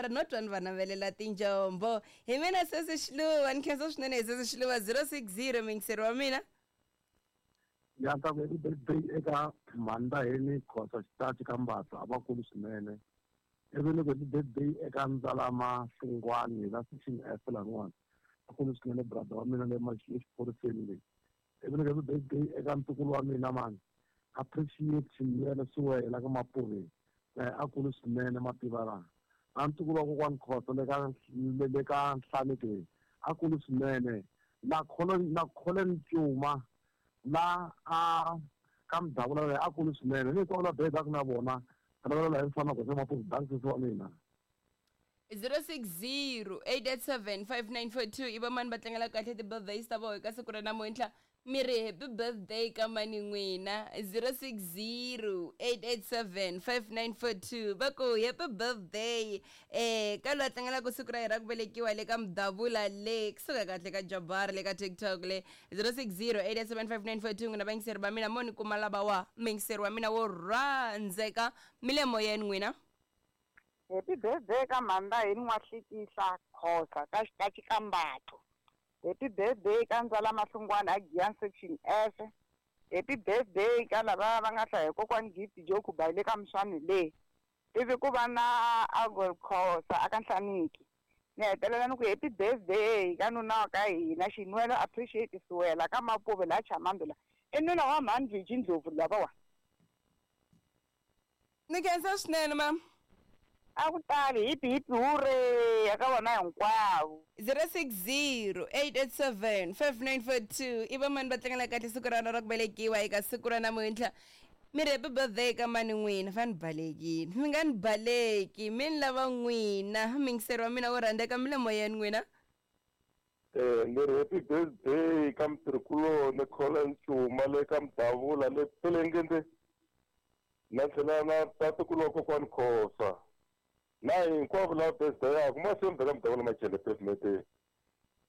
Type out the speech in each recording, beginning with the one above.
mara no twa ni va navelela tinjombo. Hi mina sesi Xiluva, ni khensa swinene hi sesi Xiluva 060 muyingiseri wa mina. Ya ta ku happy birthday eka Mhandaheni Khosa Xitachi ka Mbatla a va kulu swinene. Ivi ni ku happy birthday eka Ndzalama Hlungwani la section F laniwani a kulu swinene brother wa mina le exiphoriseni le. Ivi ni ku happy birthday eka ntukulu wa mina mani Appreciate Xinwelo Siwela ka Mapuveni na ye a kulu swinene mativa la. Na ntukulu wa kokwani Khosa le ka le ka Nhlanekeni a kulu swinene na Colin na Colin Cuma la a ka Mudavula na ye a kulu swinene ni hinkwavo la birthday na vona rivela hi mfana goza Mapuve danki sesi wa mina. 060 887 5942 i vamani va tlangela kahle ti-birthdays ta vona eka siku ra namuntlha mi ri happy birthday ka mani n'wina 060 887 5942 va ku happy birthday eh ka loyi a tlangelaka siku ra yena ra ku velekiwa le ka mudavula le kusuka kahle ka jabar le ka tiktok le 060 887 5942 n'wina vayingiseri va mina mo ni kuma lava wa muyingiseri wa mina wo rhandzeka mi le moyeni n'wina. Happy birthday ka Mhanda hi N'wahlikihla Khosa ka Xitachi ka Mbatlo. Happy birthday ka Ndzala Mahlungwana a Giyani Section F. Happy birthday ka lava va nga hlaya hi kokwani Gift Joe Khubayi le ka Mswani le. Ivi ku va na Agol Khosa a ka Nhlaniki. Ni hetelela ni ku happy birthday ka nuna wa ka hina Xinwelo Appreciate Siwela ka Mapuve laha Chamambe la. I nuna wa mhani Viji Ndlovu lavawa. Ni khensa swinene mam. A ku tali hipi hipi huree eka vona hinkwavo. 060 887 5942 i vamani va tlangela kahle siku ra ra ku velekiwa eka siku ra namuntlha mi ri happy birthday ka mani n'wina va ni balekile mi nga ni baleki mi ni lava n'wina mingiseri wa mina wo rhandzeka mi le moyeni n'wina. Eh, ni ri happy birthday ka mutirhikuloni Colin Cuma le ka Mudavula le Pelengende na tlhela na tatukulu wa kokwani Khosa na hinkwavo lava birthday-aku mahlweni ka Mudavula Machele pavement.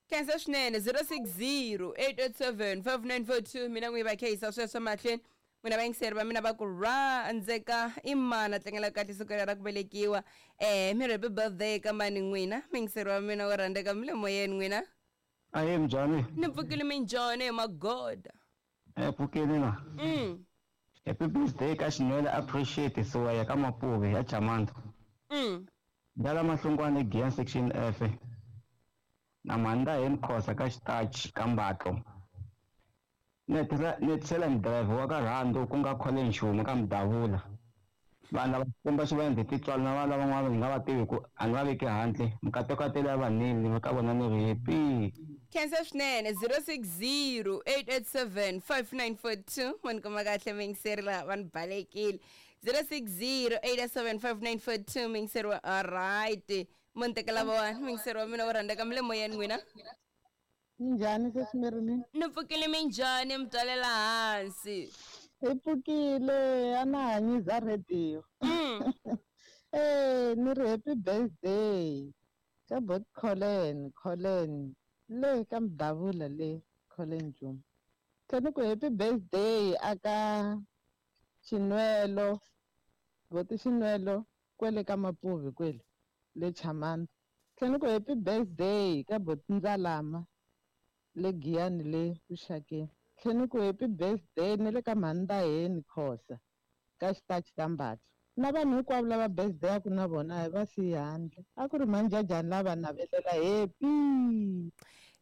Khensa swinene 060 887 5942 mina n'wi va khehisa sweswo mahlweni n'wina vayingiseri va mina va ku rhandzeka i mani a tlangela kahle siku ra ku velekiwa um mi ri happy birthday ka mani n'wina muyingiseri wa mina wo rhandzeka mi le moyeni n'wina. Ahee minjhani? Ni pfukile minjhani hi magoda. Eh pfukile na. Happy birthday ka Xinwele appreciate Siwaya ka Mapuve ya Chamanda. Ndala Mahlungwane Giyani section F. Na Mhandaheni Khosa ka Xitachi ka Mbatlo. Ni tlhela ni driver wa ka Rhando ku nga Colin Nxuma ka Mudavula. Vanhu lava Xikwembu xi va endle tintswalo na vanhu lavan'wana ni nga va tivi ku a ni va veki handle. Mikateko ya tele ya vanile ka vona ni ri happy. Khensa swinene 060 887 5942 va ni kuma kahle muyingiseri laha va ni balekile 060 887 5942 muyingiseri wa alright mo ni tekela vona muyingiseri wa mina wo rhandzeka mi le moyeni n'wina. Minjhani sesi Marilyn? Ni pfukile minjhani mi twalela hansi. Hi pfukile a na ha nyiza radio. Eh ni ri happy birthday ka bot Colin Colin le ka Mudavula le Colin Juma. Tlhe ni ku happy birthday aka Xinwelo boti Xinwelo kwele ka Mapuve kwele le Chamanda. Tlhela ni ku happy birthday ka boti Ndzalama le Giyani le Vuxakeni. Tlhela ni ku happy birthday ni le ka mhani Ndaheni Khosa ka Xitachi ka Mbatla. Na vanhu hinkwavo lava birthday-aku na vona a hi va siyi handle. A ku ri mhani Jajani la va navelela happy.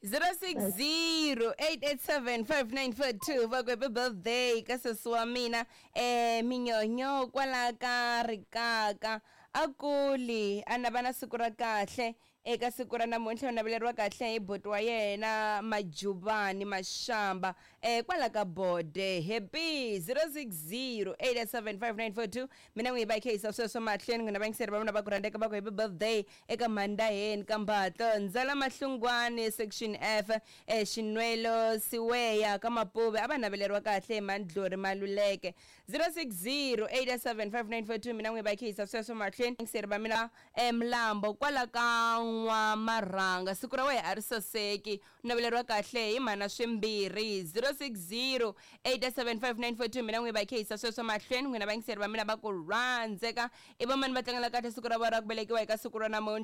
060 887 5942 va ku happy birthday ka sesi wa mina eh minyonyo kwala ka rikaka A kuli a na va na siku ra kahle eka siku ra namuntlha u naveleriwa kahle hi buti wa yena Majuvani Mashamba eh kwala ka Bode happy 0608875942 mina n'wi va hi khehisa sweswo mahlweni n'wina vayingiseri va mina va ku rhandzeka va ku happy birthday eka Mhandaheni ka Mbatlo Ndzala Mahlungwani section F eh Xinwelo Siweya ka Mapuve a va naveleriwa kahle hi Mandlori Maluleke 0608875942 mina n'wi va khehisa sweswo mahlweni yingiseri va mina emlambo kwala ka n'wamarhanga siku ra wehe a ri saseki u naveleriwa kahle hi mhana swimbirhi 0608875942 mina n'wi va khehisa sweswo mahlweni n'wina vayingiseri va mina va ku rhandzeka i vamani va tlangela kahle siku ra vona ra ku velekiwa eka siku ra namuntlha.